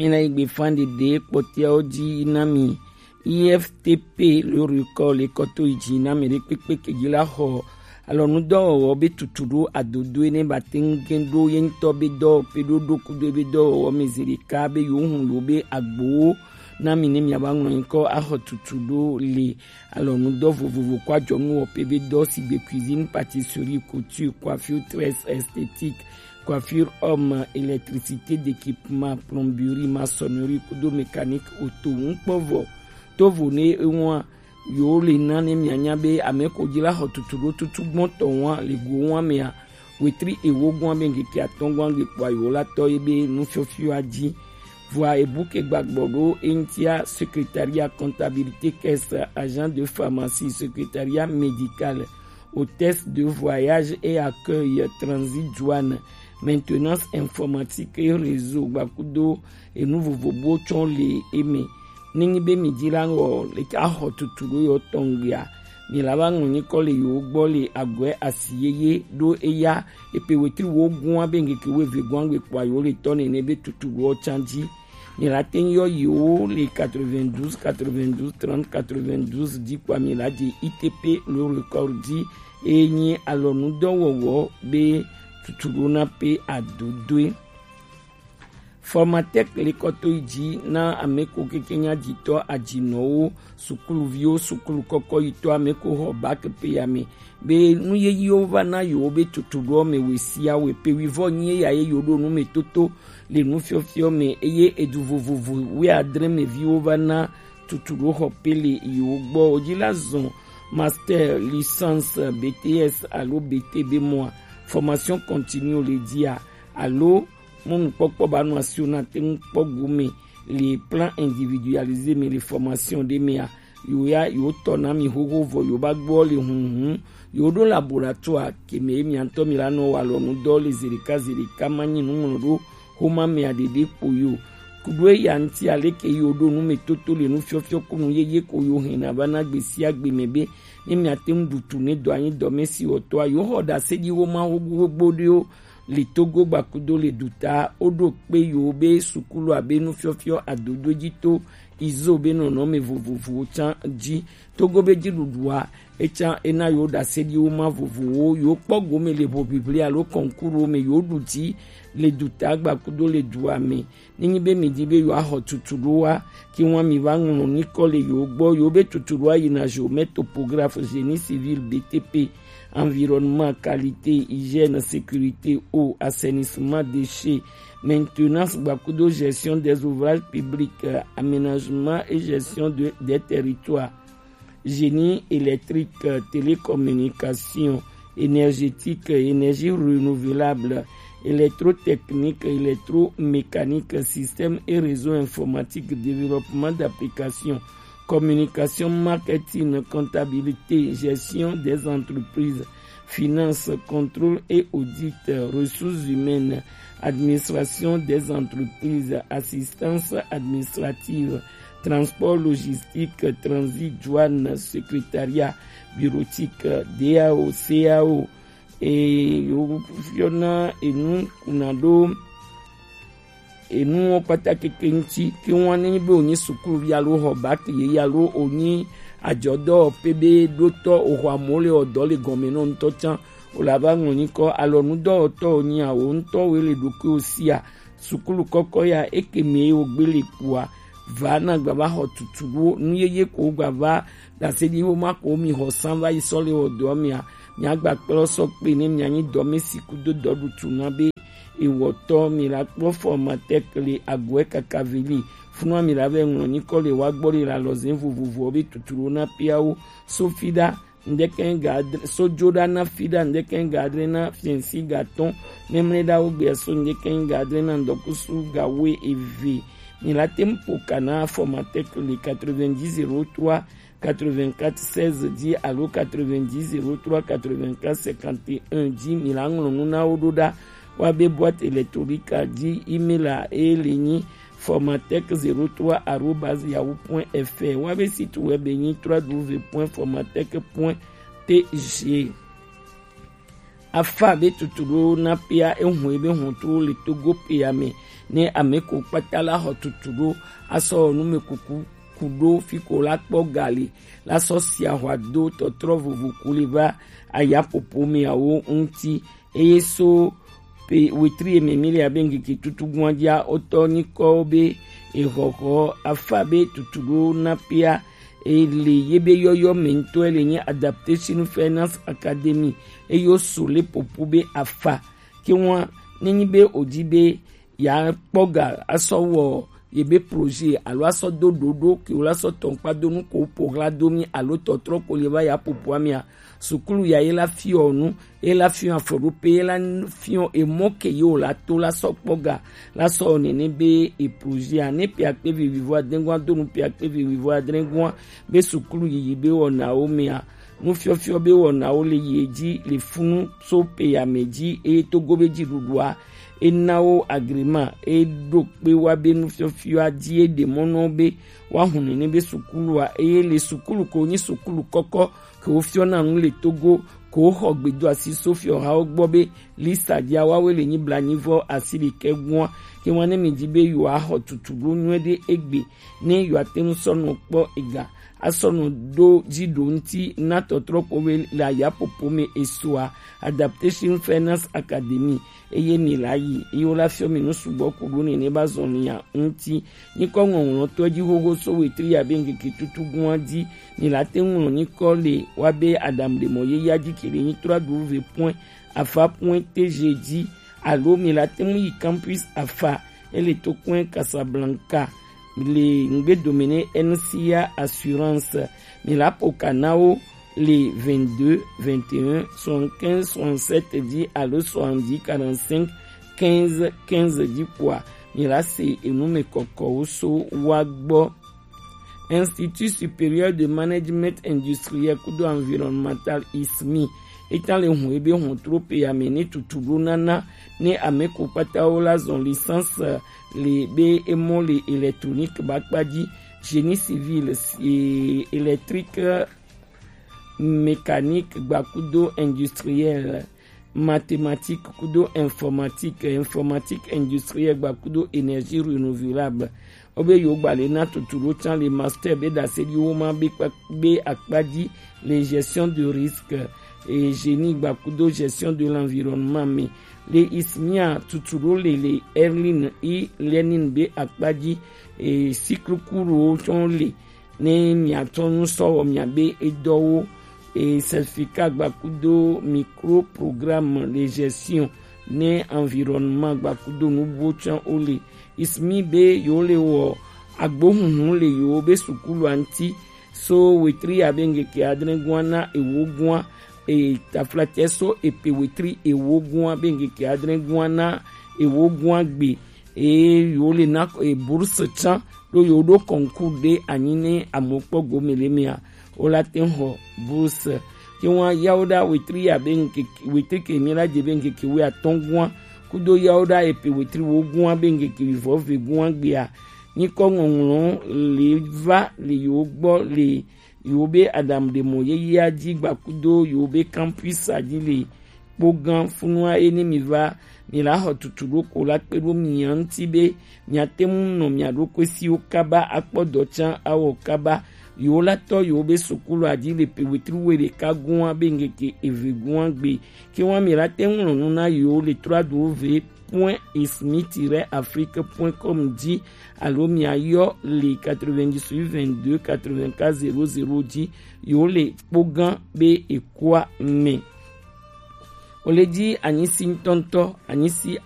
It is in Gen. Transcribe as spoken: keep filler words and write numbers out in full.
Mina igbe fan ɖeɖe kpɔtɛawo ji na mi. I F T P le record le kɔto yi ji na mi ɖe kpekpe ke ji la xɔ alɔnudɔwɔwɔ be tutu ɖo adodo ene ba te ŋu gɛn ɖo ye ŋutɔ be dɔwɔƒe ɖo ɖo kudo be dɔwɔwɔ me zi ɖeka be yewo hun yewo be agbowo na mi ne miava ŋlɔ nyikɔ axɔ tutu ɖo le alɔnudɔ vovovo kɔ adzɔnuwɔƒe be dɔ sigbe cuisine, pâtisserie, couture, coiffure, tresse, esthétique, coiffure homme, électricité, d'équipement, plomberie, maçonnerie kudo mécanique auto ŋkpɔvɔ. Tovo ne ewa yewo le na ne mianya be ame ko ji la xɔ tutu ɖo tutu gbɔntɔ wa le go wa mea, wetri ewo gɔn be ŋkeke atɔ̃ gɔn gbe kpɔa yewo la tɔ ye be nufiɔfiɔa ji. Vɔa ebu ke gbagbɔ ɖo eŋtia secrétariat comptabilité, caisse, agent de pharmacie, secrétariat médical, hôtesse de voyage et accueil, transit, douane, maintenance informatique et réseau gbakudo enu vovovowo tsɔ le eme. Nenyi be mi ji la ŋɔ le axɔ tutu ɖo yewo tɔn gbea, mi la va ŋlɔ nyikɔ le yewo gbɔ le agɔe asi yeye ɖo eya epe wetri wo gua be ŋkeke wo eve gua gbe kpɔa yewo le tɔ nene be tutu ɖo tsan ji. Mi la te yɔ yewo le quatre-vingt-douze, quatre-vingt-douze, trente, quatre-vingt-douze ji kpɔa mi la je I T P le record ji eye nyi alɔnudɔwɔwɔ be tutu ɖo na pe adodoe. Formatec le kɔto yi ji na ame ko keke nya jitɔ ajinɔwo, sukuluviwo, sukulu kɔkɔ yitɔ ame ko xɔ bac pe ya me be nu yeyewo va na yewo be tutuɖoɔ me wesiawo pe wivɔ nyi eya ye yewo ɖo nu me toto le nufiɔfiɔ me eye edu vovovo wuiadre me viwo va na tutuɖo xɔ pe le yewo gbɔ. Wo ji la zɔn master, licence, B T S alo B T be mɔa, formation continue le dia alo mɔnukpɔkpɔ ba nɔ asiwo na te ŋu kpɔ gome le plan individualisé me le formation ɖe mea, yewo ya yewo tɔ na mi xoxo vɔ yewo ba gbɔ le hunhun yewo ɖo laboratoire ke me ye mia ŋutɔ mi la nɔ wa alɔnu dɔ le zeɖeka zeɖeka ma nyi nuŋlɔ ɖo xoma mea ɖeɖe kpo yo. Kuɖo eya ŋuti aleke yewo ɖo nu me toto le nufiɔfiɔ kunu yeye ko yo hɛn na va na gbe sia gbe me be ne mia te ŋu ɖu tu ne dɔ anyi dɔ me si wɔtɔa yewo xɔ ɖase ɖi wo ma xogbo xogbo ɖewo le Togo gbakudo le duta, woɖo kpe yewo be sukulu abe nufiɔfiɔ adodo ji to izo be nɔnɔme vovovowo tsan ji. Togo be jiɖuɖua etsan ena yewo ɖase ɖi wo ma vovovowo yewo kpɔ gome le hoʋiʋli alo concours me yewo ɖu ji le duta gbakudo le dua me. Nenyi be mi di be yewo axɔ tutuɖoa, ke wa mi va ŋlɔ nyikɔ le yewo gbɔ, yewo be tutuɖoa yina géomètre, topographe, génie civil, B T P, environnement, qualité, hygiène, sécurité, eau, assainissement, déchets, maintenance gbakudo gestion des ouvrages publics, euh, aménagement et gestion de, des territoires, génie électrique, euh, télécommunication, énergétique, euh, énergie renouvelable, électrotechnique, électromécanique, système et réseau informatique, développement d'applications, communication, marketing, comptabilité, gestion des entreprises, finance, contrôle et audit, ressources humaines, administration des entreprises, assistance administrative, transport logistique, transit, douane, secrétariat bureautique, D A O, C A O, et yo fiona et nous, on a do et nous on pata keke ŋuti ke ŋua ne be wonyi sukuluvi alo xɔ bac yeye alo wonyi adzɔdɔwɔƒe be ɖotɔ oxɔ amewo le wɔ dɔ le gɔme nɔ ŋutɔ tsã wòle ava ŋlɔ nyikɔ alɔnudɔwɔtɔ wonyi awo ŋutɔ woe le ɖokuiwo sia. Sukulu kɔkɔ ya eke me wogbe le kpua va na gba va xɔ tutu ɖo nu yeye ko gba va ɖase ɖi wo ma ko mi xɔ san va yi sɔ le wɔ dɔ mia mia gba kplɔ sɔ kpe ne mia nyi dɔ me si kudo dɔ ɖutu na be ewɔtɔ mi la kpɔ formateur le agɔe kaka veli. Funua mi la vɛ ŋlɔ nyikɔ le wa gbɔ le la lɔzɛn vovovoɔ be tuturo na piawo. Sofi ɖa ŋdɛkɛn ga adre sojo ɖa na fi ɖa ŋdɛkɛn ga adre na fiɛnsi ga tɔn. Mɛmlɛ ɖa wo gbɛ so ŋdɛkɛn ga adre na ŋdɔkusu ga we eve. Mi la tem po kana formateur le quatre-vingt-dix zéro trois quatre-vingt-quatre seize dix alo quatre-vingt-dix zéro trois quatre-vingt-quatre cinquante et un dix. Mi la ŋlɔ nu na wo ɖo ɖa. Wa be boîte électronique a dzi email a e le nyi formatech zéro trois arobase yahoo point F R. Wa be site web e nyi trois W point formatech point T G. Afa be tutuɖo na pia ehun ebe hɔntru le Togo pia me ne ame ko kpata la xɔ tutuɖo asɔ numekuku kuɖo fi ko la kpɔ gali la sɔ sia hwa do tɔtrɔ vovo ku le va ayapopo me awo ŋuti. Eye so pe wetri eme mi le abe ŋkeke tutugun a dzia otɔ nyikɔwo be exɔxɔ afa be tutuɖo na pia ele ye be yɔyɔ me ŋutɔ ele nye Adaptation Finance Academy eye wo so le popo be afa ke ŋua ne nyi be o di be ya kpɔ ga asɔ wɔ ye be projet alo asɔ do ɖoɖo ke wo la sɔ tɔnkpa do nu ko wo po hla do mi alo tɔtrɔ ko le va ya popo amia sukulu ya ye la fiɔ nu ye la fiɔ afɔɖope ye la fiɔ emɔ ke ye wo la to la sɔ kpɔ ga la sɔ nene be e projet a ne pia kpe vi wivo adengua do nu pia kpe vi wivo adengua be sukulu yiyi be wɔnawo mea nufiɔfiɔ be wɔnawo le yi edzi le funu so pe ya me dzi eye togo be dziɖuɖua e na wo agrément e ɖo kpe wa be nufiɔfiɔa dzi e ɖe mɔ na wo be woahu nene be sukulua eye le sukulu ko nyi sukulu kɔkɔ ke wofiɔna nu le Togo ko woxɔ gbedoasi so fiɔhawo gbɔ be lista dzia woawoe le nyi blanyivɔ asi ɖekɛ gua ke ŋua ne mi di be yewoaxɔ tutuɖo nyuie ɖe egbe ne yewoate ŋu sɔ nɔ kpɔ ega asɔ nɔ ɖo dzi ɖo ŋuti na tɔtrɔ ko be le ayapopo me esoa Adaptation Finance Academy eye mi la yi eye wo la fiɔ mi nu sugbɔ ku ɖo nene ba zɔn ya ŋuti. Nyikɔ ŋɔŋlɔtɔ dzi xoxo so wetri ya be ŋkeke tutugun a dzi mi la te ŋu ŋlɔ nyikɔ le wa be Adam ɖe mɔ ye ya dzi ke le nyi trois w point afa point T G dzi alo mi la te ŋu yi campus afa ele to kɔe Casablanca le ŋgbedome ne N C A Assurance mi la po ka na wo le vingt-deux vingt et un soixante-quinze soixante-sept dzi alo soixante-dix quarante-cinq quinze quinze dzi kpoa mi la se enu me kɔkɔwo so wa gbɔ. Institut Supérieur de Management Industriel kudo Environnemental, ismi, eta le hun ebe hun trope ya me ne tutu ɖo nana ne ame ko kpata wo la zɔn licence le be emɔ le électronique ba kpa dzi, génie civil, e, électrique, mécanique gbakudo industriel, mathématique kudo informatique, informatique industriel gbakudo énergie renouvelable. Wo be yewo gba le na tutu ɖo can le master be ɖase ɖi wo ma be kpa, be akpa dzi le gestion de risque, e, génie gbakudo gestion de l'environnement me. Le ismia tutu ɖo le le Erlin e-learning be akpa dzi, e, cycle court wo tsɔ le ne miatsɔ nu sɔ wɔ miabe edɔwo, e, certificat gbakudo micro programme de gestion ne environnement gbakudo nubuwo tsã wo le. Ismi be yewo le wɔ agbohunhun le yewo be sukulu a ŋuti so wetri ya be ŋkeke adre gua na ewo gua, e, taflatɛ so epe wetri ewo gua be ŋkeke adre gua na ewo gua gbe. Eye yewo le na, e, bourse tsã ɖo yewo ɖo concours ɖe anyi ne amewo kpɔ gome le mea, wo la te ŋu xɔ bourse. Ke ŋua yawo ɖa wetri ya be ŋkeke, wetri ke mi la dze be ŋkeke wuiatɔ̃ gua kudo yawo ɖa epe wetri wo gua be ŋkeke wuivɔ ve gua gbea, nyikɔ ŋɔŋlɔ le va le yewo gbɔ le yewo be Adam ɖe mɔ yeyea dzi gbakudo yewo be campus a dzi le kpogã funua ye ne mi va mi la xɔ tutu ɖo ko la kpe ɖo mia ŋuti be miate ŋu nɔ mia ɖokui siwo kaba akpɔ dɔ tsã awɔ kaba. Yewo la tɔ yewo be sukulu a dzi le pe wetri wuiɖeka gua be ŋkeke eve gua gbe. Ke ŋua mi la te ŋu ŋlɔ nu na yewo le trois w point ismi tiret afrique point com dzi alo mia yɔ le quatre-vingt-dix-huit vingt-deux quatre-vingt-quatre zéro zéro dzi yewo le kpogã be ekua me. O le dzi anyisi ŋutɔŋutɔ, anyisi